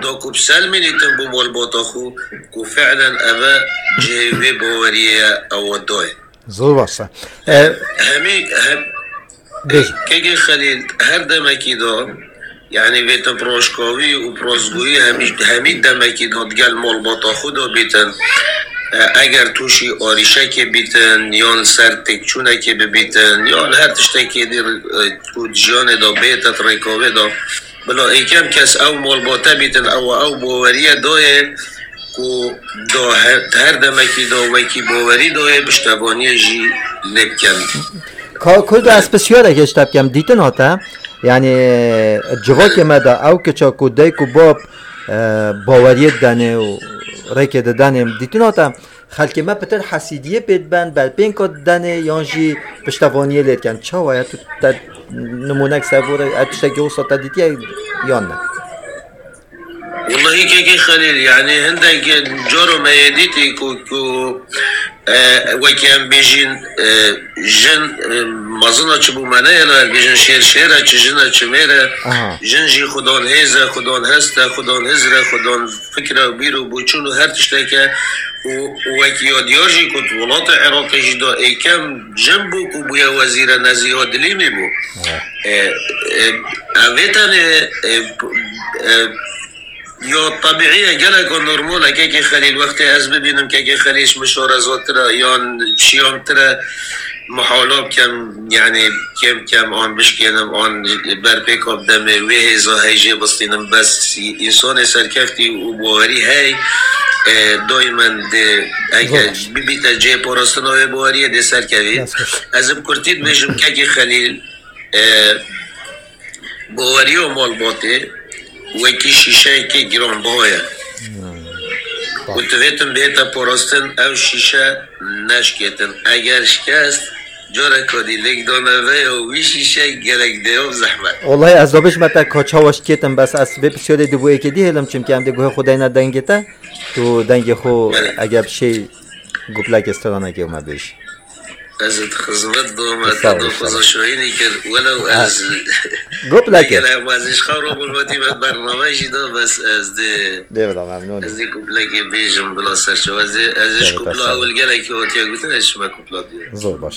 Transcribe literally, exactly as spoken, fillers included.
da ku biselmînîtin bo malbata xwe ku fi'len eve cihê vê baweriyê ye, ew doye. Zor baş e. E, Hemî, hem, Bêjin. Kekê Xelîl, her demekî de, yanî vêtin rojkavî û rostgoyî hemî, hemî demekî de digel malbata xwe de bîtin. E, eger tûşî arîşekê bîtin, yan li ser têkçûnekê bibîtin, yan her tiştekê dî, e, ku di jiyanê de bête, di rêkavê de, bila êkem kes ew malbate bîtin, ew, ew baweriye dayê ku da her, her demekî da wekî bawerî dayê piştevaniyê jî lê bikin. Ka-, Kurdo, ez pisyarek hêşta bikem, dîtin hate? Yanî, civakê me de ew kiça ku dayik û bab, e, baweriyê didanê û rêkê didanê, dîtin hate? Xelkê me pitir hesîdiyê pê diben, berpênka didanê yan jî piştevaniyê lê dikin. Çawa ye, tu te nimûnek ser bo re, ev tiştekî wisa te dîtiye yan ne? Wellahî kekê Xelîl, yanî hindek caro me yê dîtî ku, ku, e, wekî em bêjîn, e, jin, e, mezina çi bû me neyê, em bêjin şêr şêr e, çi jin e, çi mêr e. Aha. Jin jî xudan hêz e, xudan hest e, xudan hizr e, xudan fikr e, bîr û boçûn û her tiştek e. Û, û wekî ya diyar jî ku di welatê Iraqê jî de êkem jin bû ku bûye wezîre, Nezîha Dilîmî bû. Evet. E, e, ev vê tenê, e, p-, e, ya tebîî ye, geleka normal e, kekê Xelîl, wextê ez bibînim kekê Xelîl ji min şarezatir e, yan şiyamtir e, mihala bikem, yanî kêm kêm an bişkênim, an berpêka bidemê, wê hêza hey jê bistînim, bes însanê serkeftî û bawerî hey, e, daymen dê, eger Zor baş. bibîte cihê parastina wê baweriyê dê serkevî. Dest xweş. Ez bi kurtî dibêjim, kekê Xelîl, e, baweriya malbatê wekî şîşeyekê giranbiha ye. Hmm. Ku divêtin bihête parastin, ew şîşe neşkêtin. Eger şikest, careka dî lêkdana vê ya wî şîşe gerek dê û zehmet. Wellahî ez da bêjime te ka çawa şikêtin, bes ez vê pisyarê dê bo êkê dî hêlim, çimkî em dê guhê xwe deyne dengê te. Tu dengê xwe Belê. eger bi şey guplekê stranekê me bêjî. Ez ê di xizmet de me Sağ te ol, do sağ ol. Xweza şahînî kir. Welew Ha. ez Guplekê. Gel em ez ji xew robûn wetî me bername jî da, bes ez dê Dê bila memnûn. ez dê kuplekê bêjim bila serçe. Ez dê, ez dê ji Tabii, kupla tabii. ewil gelekî hatiye gotin, ez ji me kupla diye. Zor baş.